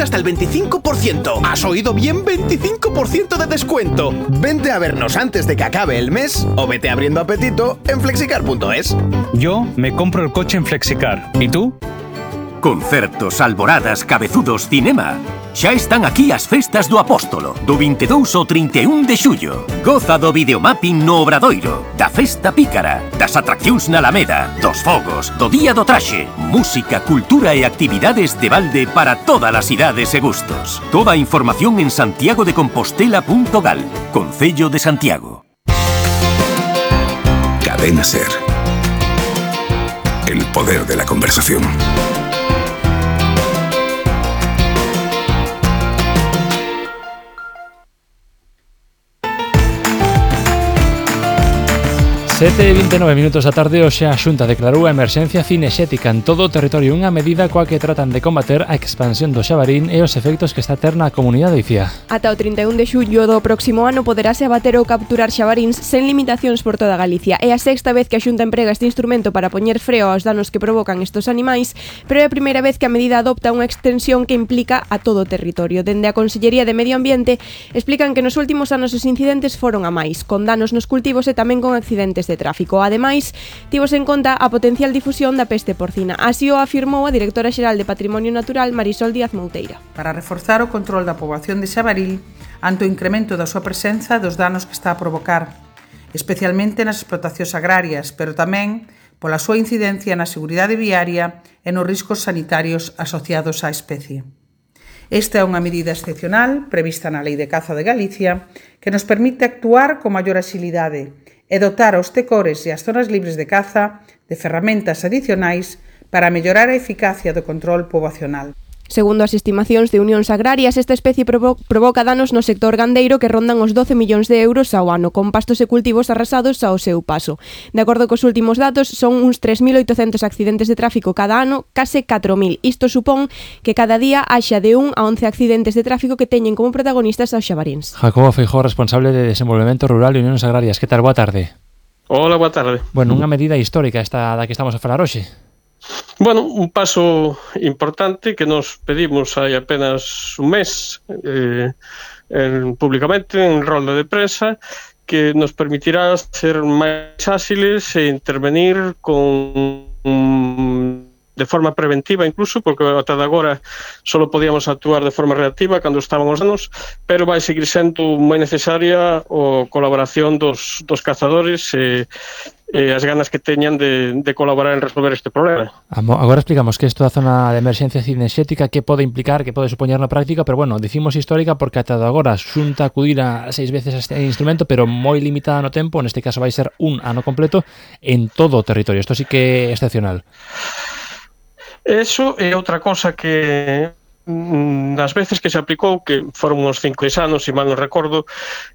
Aprovecha hasta el 25%. ¿Has oído bien? 25% de descuento. Vente a vernos antes de que acabe el mes o vete abriendo apetito en flexicar.es. Yo me compro el coche en Flexicar. ¿Y tú? Concertos, alboradas, cabezudos, cinema. Xa están aquí as festas do Apóstolo, do 22 ao 31 de xullo. Goza do videomapping no Obradoiro, da festa pícara, das atraccións na Alameda, dos fogos, do Día do Traxe, música, cultura e actividades de balde para todas as idades e gustos. Toda a información en santiagodecompostela.gal, Concello de Santiago. Cadena Ser. El poder de la conversación. Sete e 29 minutos da tarde, hoxe a Xunta declarou a emerxencia cinexética en todo o territorio, unha medida coa que tratan de combater a expansión do xabarín e os efectos que está a ter na comunidade icía. Ata o 31 de xullo do próximo ano poderase abater ou capturar xabaríns sen limitacións por toda Galicia. É a sexta vez que a Xunta emprega este instrumento para poñer freo aos danos que provocan estos animais, pero é a primeira vez que a medida adopta unha extensión que implica a todo o territorio. Dende a Consellería de Medio Ambiente explican que nos últimos anos os incidentes foron a máis, con danos nos cultivos e tamén con accidentes de tráfico. Ademais, tivos en conta a potencial difusión da peste porcina. Así o afirmou a directora xeral de Patrimonio Natural, Marisol Díaz Mouteira. Para reforzar o control da poboación de xabaril ante o incremento da súa presenza e dos danos que está a provocar, especialmente nas explotacións agrarias, pero tamén pola súa incidencia na seguridade viaria e nos riscos sanitarios asociados á especie. Esta é unha medida excepcional prevista na Lei de Caza de Galicia que nos permite actuar con maior axilidade e dotar aos tecores e as zonas libres de caza de ferramentas adicionais para mellorar a eficacia do control poboacional. Segundo as estimacións de Unións Agrarias, esta especie provoca danos no sector gandeiro que rondan os 12 millóns de euros ao ano, con pastos e cultivos arrasados ao seu paso. De acordo cos últimos datos, son uns 3.800 accidentes de tráfico cada ano, case 4.000. Isto supón que cada día haxa de 1 a 11 accidentes de tráfico que teñen como protagonistas aos xabaríns. Jacobo Feijóo, responsable de Desenvolvemento Rural e Unións Agrarias. Que tal? Boa tarde. Hola, boa tarde. Bueno, unha medida histórica esta da que estamos a falar hoxe. Bueno, un paso importante que nos pedimos hai apenas un mes públicamente en rolda de prensa, que nos permitirá ser máis áxiles e intervenir de forma preventiva incluso, porque ata de agora só podíamos actuar de forma reactiva cando estaban os danos, pero vai seguir sendo moi necesaria a colaboración dos cazadores e as ganas que teñan de colaborar en resolver este problema. Agora explicamos que isto da zona de emerxencia cinexética, que pode implicar, que pode supoñer na práctica, pero bueno, dicimos histórica porque ata agora Xunta acudira 6 veces a este instrumento, pero moi limitada no tempo, neste caso vai ser un ano completo en todo o territorio. Isto sí que é excepcional. Eso é outra cosa que nas veces que se aplicou, que foron uns 5 anos, se mal non recordo,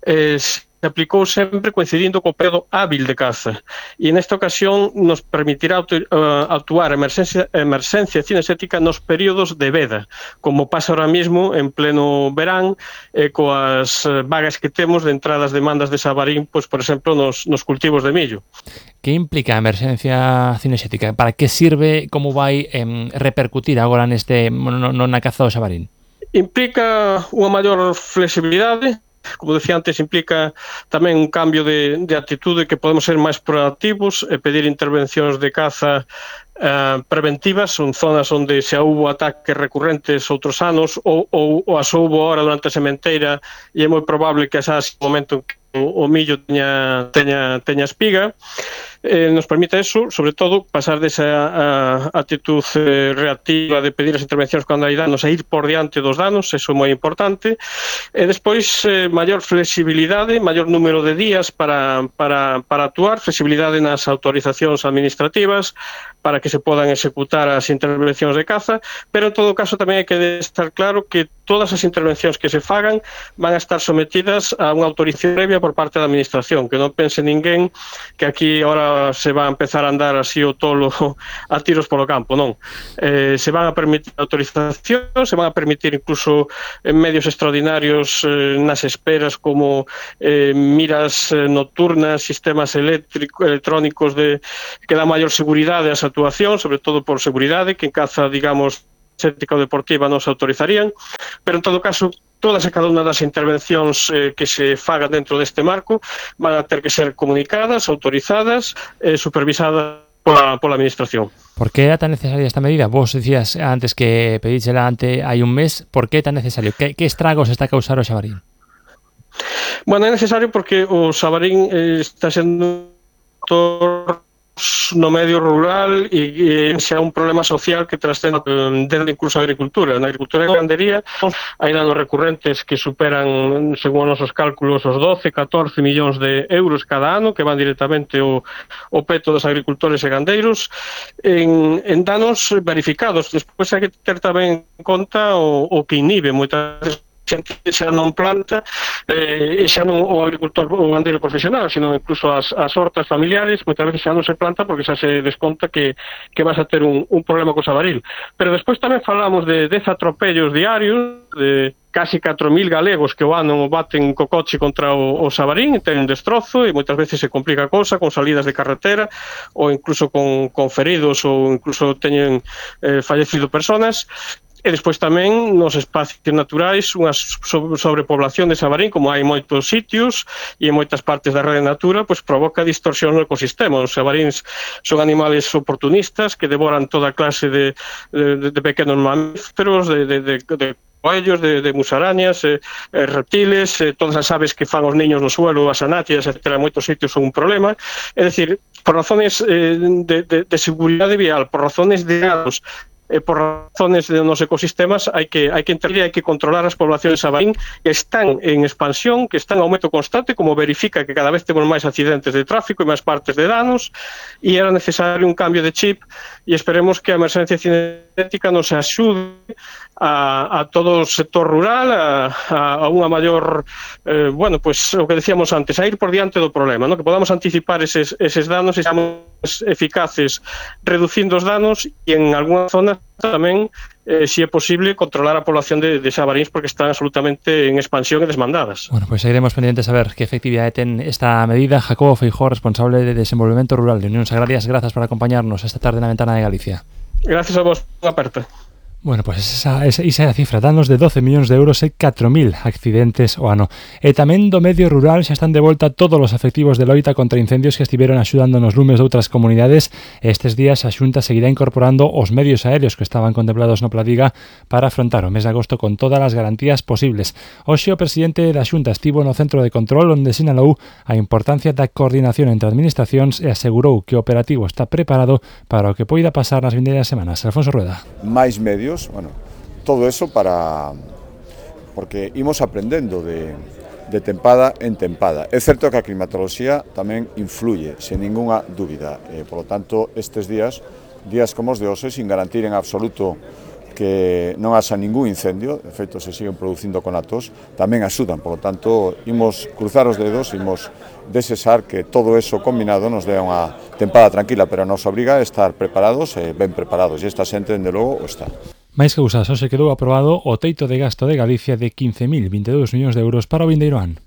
se aplicou sempre coincidindo co período hábil de caza, e nesta ocasión nos permitirá actuar a emerxencia cinexética nos períodos de veda, como pasa ahora mismo en pleno verán, coas vagas que temos de entradas demandas de xabarín, pois, por exemplo, nos cultivos de millo. Que implica a emerxencia cinexética? Para que sirve? Como vai repercutir agora na caza do xabarín? Implica unha maior flexibilidade. Como decía antes, implica tamén un cambio de actitude, que podemos ser máis proactivos e pedir intervencións de caza preventivas. Son zonas onde xa houbo ataques recurrentes outros anos ou as houbo ahora durante a sementeira, e é moi probable que xa o momento en que o millo teña espiga. Nos permite eso, sobre todo, pasar desa actitud reactiva de pedir as intervencións cando hai danos e ir por diante dos danos. Eso é moi importante. E despois, maior flexibilidade, maior número de días para actuar, flexibilidade nas autorizacións administrativas para que se podan executar as intervencións de caza, pero en todo caso tamén hai que estar claro que todas as intervencións que se fagan van a estar sometidas a unha autorización previa por parte da administración, que non pense ninguén que aquí ahora se va a empezar a andar así o tolo a tiros polo campo, non. Se van a permitir autorizacións, se van a permitir incluso medios extraordinarios nas esperas, como miras nocturnas, sistemas electrónicos que dan maior seguridade ás actuacións, sobre todo por seguridade, que en caza, digamos, ética ou deportiva non se autorizarían. pero en todo caso todas e cada unha das intervencións que se fagan dentro deste marco van a ter que ser comunicadas, autorizadas e supervisadas pola Administración. ¿Por qué era tan necesaria esta medida? Vos decías antes que pedísela hai un mes. ¿Por qué tan necesario? ¿Qué estragos está a causar o xabarín? Bueno, é necesario porque o xabarín está sendo no medio rural e xa un problema social que trascende desde incluso a agricultura. Na agricultura e gandería hai danos recurrentes que superan, según os nosos cálculos, os 12-14 millóns de euros cada ano que van directamente ao peto dos agricultores e gandeiros en danos verificados. Despois hai que ter tamén en conta o que inhibe moitas veces xente xa non planta e xa non o agricultor ou gandeiro profesional, sino incluso as hortas familiares, moitas veces xa non se planta porque xa se desconta que vas a ter un problema co xabaril. Pero despois tamén falamos de 10 atropellos diarios, de casi 4.000 galegos que o ano baten co coche contra o xabarín e ten un destrozo e moitas veces se complica a cousa con salidas de carretera ou incluso con feridos ou incluso teñen fallecido personas. E despois tamén nos espacios naturais unha sobrepoblación de xabarín, como hai moitos sitios e en moitas partes da rede natura, pois provoca distorsión no ecosistema. Os xabaríns son animales oportunistas que devoran toda clase de pequenos mamíferos, de coellos, de musarañas, reptiles, todas as aves que fan os niños no suelo, as anátidas, etc. En moitos sitios son un problema. É dicir, por razones de seguridade vial, por razones de danos, por razones de nos ecosistemas hai que intervir, hai que controlar as poblacións de xabarín que están en expansión, que están en aumento constante, como verifica que cada vez temos máis accidentes de tráfico e máis partes de danos, e era necesario un cambio de chip e esperemos que a emerxencia cinética nos axude a todo o sector rural a unha maior pues o que decíamos antes, a ir por diante do problema, ¿no? Que podamos anticipar eses danos e seamos eficaces reducindo os danos e en algunha zona tamén, si é posible, controlar a población de xabaríns porque están absolutamente en expansión e desmandadas. Bueno, pues seguiremos pendientes a ver qué efectividad ten esta medida. Jacobo Feijó, responsable de Desenvolvemento Rural de Unións Agrarias, gracias por acompañarnos esta tarde na Ventana de Galicia. Gracias a vos, unha aperta. Bueno, pues esa é a cifra, danos de 12 millóns de euros e 4.000 accidentes o ano. E tamén do medio rural xa están de volta todos os efectivos de loita contra incendios que estiveron axudando nos lumes de outras comunidades. Estes días a Xunta seguirá incorporando os medios aéreos que estaban contemplados no Pladiga para afrontar o mes de agosto con todas as garantías posibles. Hoxe o presidente da Xunta estivo no centro de control onde sinalou a importancia da coordinación entre administracións e asegurou que o operativo está preparado para o que poida pasar nas vindeiras semanas. Alfonso Rueda. Máis medios, bueno, todo eso porque imos aprendendo de tempada en tempada. É certo que a climatoloxía tamén influye, sen ningunha dúbida. Por lo tanto, estes días como os de hoxe, sin garantir en absoluto que non haxa ningún incendio, de feito se siguen producindo conatos, tamén axudan. Por lo tanto, imos cruzar os dedos, imos desexar que todo eso combinado nos dé unha tempada tranquila, pero nos obriga a estar preparados e ben preparados, e esta xente, dende logo, o está. Máis que usas, hoxe quedou aprobado o teito de gasto de Galicia de 15.022 millóns de euros para o vindeiro ano.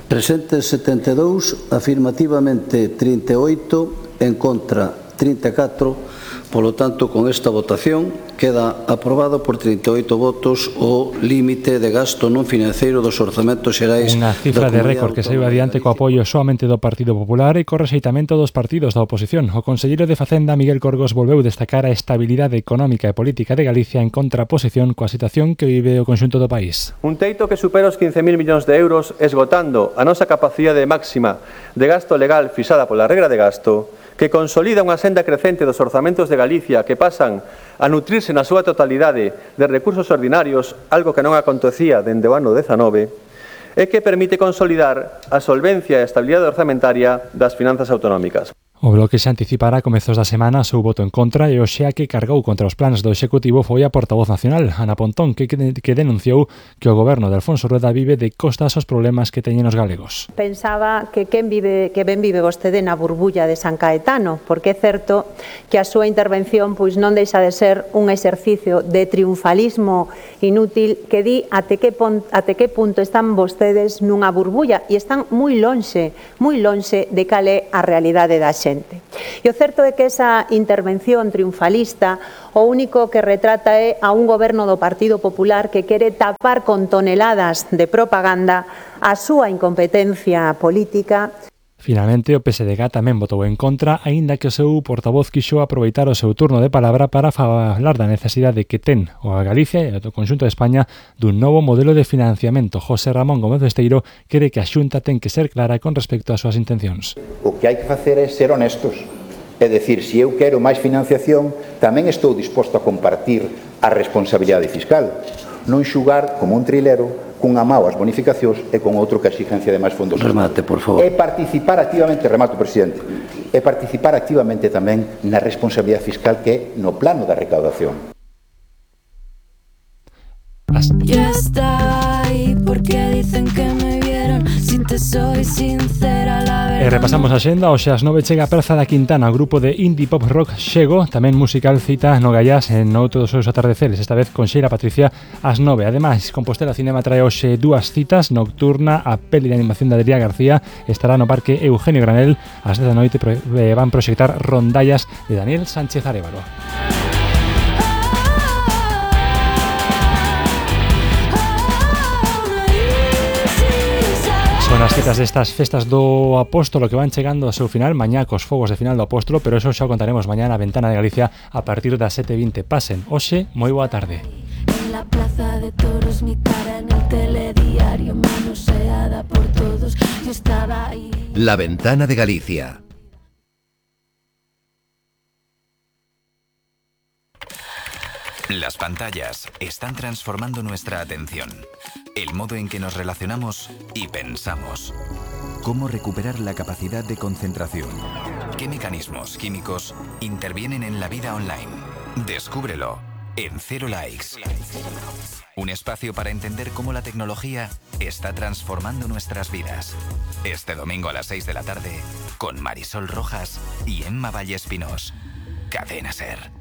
Presentes 72, afirmativamente 38, en contra 34, polo tanto, con esta votación queda aprobado por 38 votos o límite de gasto non financeiro dos orzamentos xerais. Unha cifra de récord que saiu adiante co apoio soamente do Partido Popular e co rexeitamento dos partidos da oposición. O conselleiro de Facenda, Miguel Corgos, volveu destacar a estabilidade económica e política de Galicia en contraposición coa situación que vive o conxunto do país. Un teito que supera os 15.000 millóns de euros esgotando a nosa capacidade máxima de gasto legal fixada pola regra de gasto, que consolida unha senda crecente dos orzamentos de Galicia que pasan a nutrirse na súa totalidade de recursos ordinarios, algo que non acontecía dende o ano 19, e que permite consolidar a solvencia e a estabilidade orzamentaria das finanzas autonómicas. O Bloque se anticipará a comezos da semana seu voto en contra e hoxe a que cargou contra os planes do Executivo foi a portavoz nacional, Ana Pontón, que denunciou que o goberno de Alfonso Rueda vive de costas aos problemas que teñen os galegos. Pensaba que ben vive vostede na burbulla de San Caetano, porque é certo que a súa intervención pois non deixa de ser un exercicio de triunfalismo inútil que di até que punto están vostedes nunha burbulla e están moi lonxe de cal é a realidade da xente. xente. E o certo é que esa intervención triunfalista o único que retrata é a un goberno do Partido Popular que quere tapar con toneladas de propaganda a súa incompetencia política. Finalmente, o PSDG tamén votou en contra, aínda que o seu portavoz quixo aproveitar o seu turno de palabra para falar da necesidade que ten a Galicia e o conxunto de España dun novo modelo de financiamento. José Ramón Gómez Besteiro quere que a Xunta ten que ser clara con respecto ás súas intencións. O que hai que facer é ser honestos. É dicir, se eu quero máis financiación, tamén estou disposto a compartir a responsabilidade fiscal. Non xugar como un trilero cunha mao as bonificacións e con outro que a exigencia de máis fondos. Remate, por favor. E participar activamente, remato, presidente, e participar activamente tamén na responsabilidade fiscal que é no plano da recaudación. Ya está ahí porque dicen que me vieron. Si te soy sincera, la verdad. E repasamos a xenda. Hoxe ás 9 chega a Praza da Quintana, o grupo de indie pop rock Xego, tamén musical cita no Gallás en outro dos seus atardeceres, esta vez con Xeira Patricia ás 9. Ademais, Compostela Cinema trae hoxe dúas citas: nocturna, a peli de animación de Adrià García, estará no Parque Eugenio Granel ás 10 da noite, van proxectar Rondallas de Daniel Sánchez Arévalo. Son as citas destas festas do Apóstolo que van chegando ao seu final, mañá cos fogos de final do Apóstolo, pero eso xa o contaremos mañá na Ventana de Galicia a partir das 7:20. Pasen, hoxe, moi boa tarde. En la plaza de toros mi cara en el telediario manoseada por todos. Yo estaba ahí. La Ventana de Galicia. Las pantallas están transformando nuestra atención, el modo en que nos relacionamos y pensamos. ¿Cómo recuperar la capacidad de concentración? ¿Qué mecanismos químicos intervienen en la vida online? Descúbrelo en Cero Likes. Un espacio para entender cómo la tecnología está transformando nuestras vidas. Este domingo a las 6 de la tarde con Marisol Rojas y Emma Valle Espinós. Cadena SER.